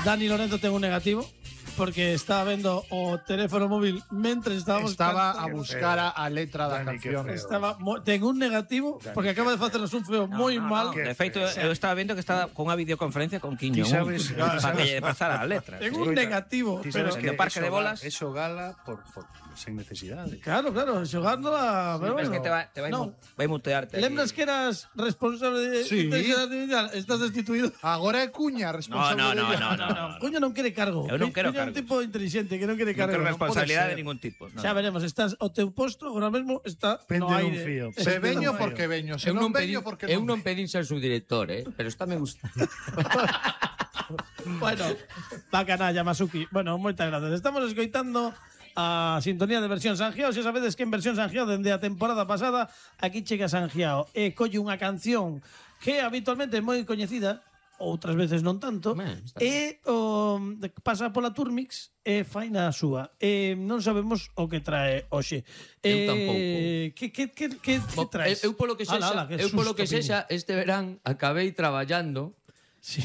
Dani Lorenzo ten un negativo porque estaba vendo o teléfono móvil mentre estábamos Estaba a buscar a letra da Dani, canción. ten un negativo porque acaba de facernos un feo moi mal. De feito, eu estaba vendo que estaba con unha videoconferencia con Quiño. Ti sabes- Para que lle pasara a letra. Ten un negativo, Ti pero sabes que no parque de bolas- Eso gala por sen necesidade. claro, xogando a pero Es bueno. que te vai No. mutearte. Lembras que eras responsable de Sí. inteligencia artificial? Estás destituído. Agora é Cuña responsable. No. Coño non quere cargo. Eu non quero Coño é un cargos. tipo inteligente que non quere Non cargo. quero Non responsabilidade pode de ser. ningún tipo. No. Xa veremos, estás o teu posto agora mesmo está Pende no dun aire. fío. Se veño porque veño, se Eu non non pedín, veño porque eu non non pedín ser subdirector, pero está me gusta. Bueno, bacanalla, Masuki. Bueno, moitas gracias. Estamos escoitando a sintonía de versión Sangiao. Se sabedes que en versión Sangiao dende a temporada pasada aquí chega Sangiao e colle unha canción que habitualmente é moi coñecida, outras veces non tanto, Está e pasa pola Turmix e faina a súa. Non sabemos o que trae hoxe. Eu tampouco. Que traes? Eu polo que sexa, eu polo que sexa este verán acabei traballando. Sí.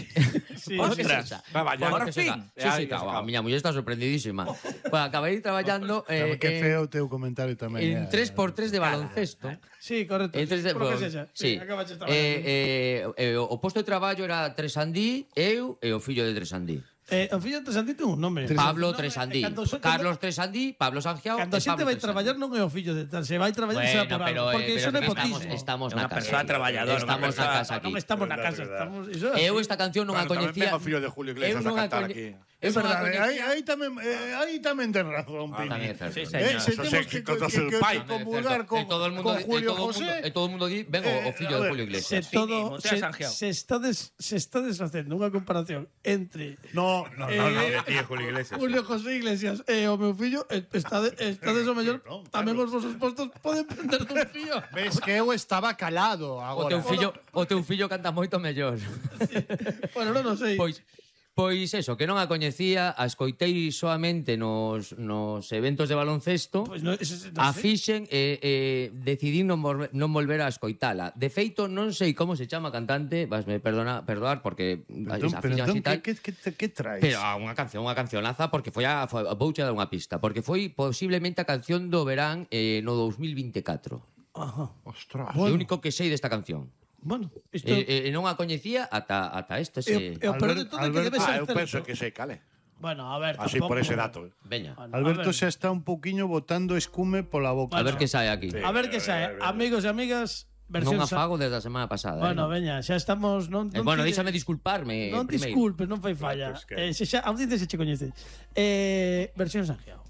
Sí. Ostras, traballando. Por fin. Sí, claro, a miña muller está sorprendidísima. Bueno, acabei traballando Que feo o teu comentario tamén. en 3x3 de baloncesto. Sí, correcto. En 3 de Por que sexa. Sí. Acabaches traballando. O posto de traballo era Tresandí, eu e o fillo de Tresandí. O fillo de Tresandí ten un nome. Pablo No, Tresandí. cando Carlos Tresandí, Pablo Sangiao Cando a e xente Pablo vai Tresandí. traballar non é o fillo de tal, se vai traballar será por algo, porque iso é nepotismo. Estamos É unha na casa. persoa traballadora, Estamos unha na persoa- casa aquí. Non estamos na casa, estamos iso é Eu así. esta canción non a Bueno, tamén coñecía. vengo o fillo de Julio Iglesias Eu non a cantar coñe- aquí. Eu É non a verdade, coñecía. aí tamén ten razón, Tamén é Pini. certo. Sí, señor. Se Esos temos éxitos do seu pai. comulgar con Julio José. E todo o mundo di, ven o fillo de Julio Se Iglesias. todo Montea Sangiao. se estades facendo unha comparación entre No, Julio Iglesias. Julio José Iglesias e o meu fillo, estades o mellor, tamén os vosos postos poden prender dun fío. Ves que eu estaba calado O agora. teu fillo canta moito mellor. Bueno, non o sei. Pois eso, que non a coñecía, a escoitei soamente nos eventos de baloncesto. Pois non sei. A fixen e decidí non volver a escoitala. De feito, non sei como se chama a cantante, vasme perdoar porque a fixen así tal. Que traes? Pero unha cancionaza porque vouche dar unha pista, porque foi posiblemente a canción do verán no 2024. Ajá. Ostras. O único que sei desta canción. Bueno, isto Non a coñecía ata este. e o peor de todo é que debe ser Eu penso certo. que sei cale. Bueno, a ver, Así tampouco. por ese dato. Veña, Bueno, Alberto a ver. xa está un pouquiño botando escume pola boca. a ver que sae aquí. A ver que sae. Amigos e amigas, versión Non afago desde a semana pasada. Bueno, non? veña, xa estamos Bueno, déixame disculparme Non primeiro. disculpes, non fai falla. Se xa audiencia se che coñece. Versión Sangiao.